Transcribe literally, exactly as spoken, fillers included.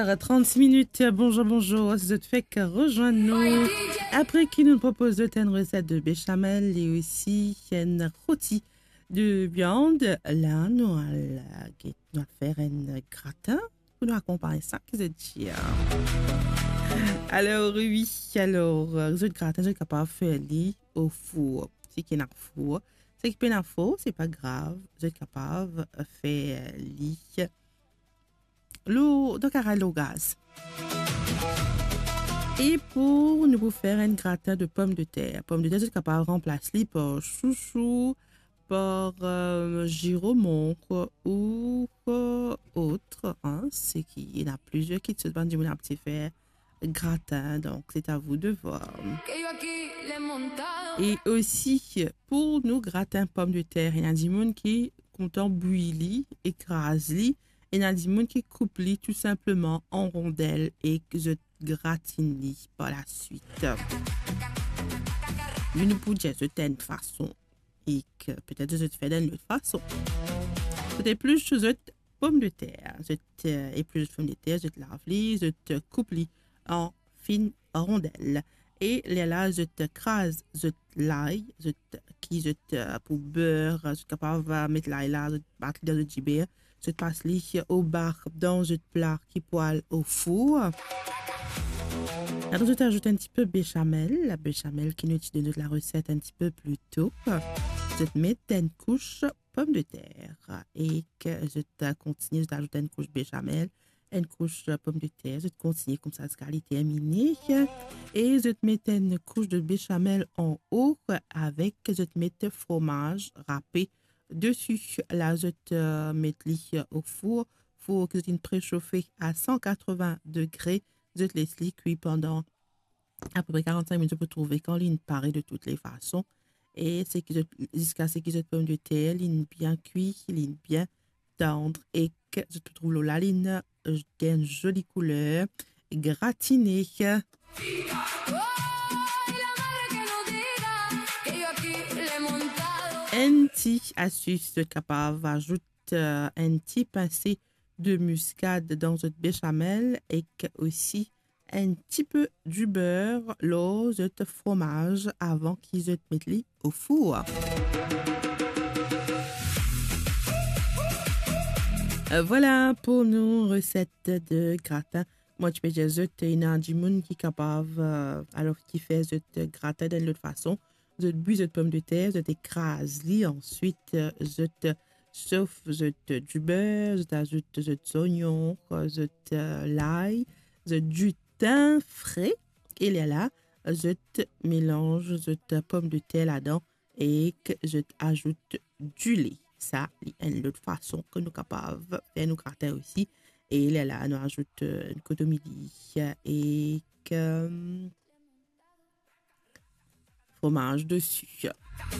Trente-six minutes, bonjour, bonjour, si zot fek rezwenn nou. Apre ki nou propoz zot enn reset de béchamel e osi enn roti de viann, la nou al, nou al fer enn gratin pou nou akonpagn sa, ki zot dir. Alor, wi, alor, zot gratin, zot kapav fer li o four. Seki ena four, seki pena four, se pa grav, zot kapav fer li lor, dan karay lor gaz. E pou nou pou fer enn gratin de pomdeter. Pomdeter, zot kapav ranplas li par sousou, par, euh, ziromonk ou, euh, ot, hein, seki ena plizier kitsoz bann dimoun abitie fer gratin, donk c'est à vous de voir. E osi, pou nou gratin pomdeter, ena dimoun ki kontan bwi li, ekraz li, ena dimoun ki koup li tou sinpleman an rondel e ki zot gratinn li par laswit. Me nou pou dir zot enn fason e ki petet zot fer dan enn lot fason. Zot eplis zot pomdeter, zot, euh, eplis zot pomdeter, zot lav li, zot, euh, koup li an fin rondel. E lerla zot kraz zot lay, zot ki zot, euh, pou ber, zot kapav, euh, met lay la, zot bat li dan zot diber, zot pas li oba dan zot pla ki pou al o four. Apre zot azout enn tipe béchamel, la béchamel ki nou ti donn zot lareset enn tipe pli to. Zot met enn kous pomdeter e ki zot kontigne, zot azout enn kous béchamel, enn kous pomdeter, zot kontigne koumsa ziska li termine. E zot met enn kous de béchamel anlor avek, zot met fromaz rape desi. La zot, euh, met li, euh, o four, four ki zot inn presofe a cent quatre-vingts degre. Zot les li kwi pandan apepre quarante-cinq minit, zot pou trouve kan linn pare de toutes les façons. E seki zot, ziska seki zot pomdeter linn bien kwi, linn bien tandr e ki zot pou trouv lor la linn, euh, gagn zoli kouler, gratine. Enn ti astis, zot kapav azout, euh, enn ti pinse de miskad dan zot béchamel e ki osi enn tipe diber lor zot fromaz avan ki zot met li o four. Euh, vwala pou nou reset de gratin. Mwa ti pe dir zot, ena dimoun ki kapav, euh, alor ki fer zot gratin dan enn lot fason. Zot bwi zot pomdeter, zot ekraz li, answit, euh, zot sof zot diber, zot azout zot zonion, zot, euh, lay, zot ditin fre, e lerla zot melanz zot pomdeter ladan e ki zot azout dile. Sa li enn lot fason ki nou kapav fer nou gratin osi. E lerla nou azout, euh, kotomili e ki, euh, fromaz desi.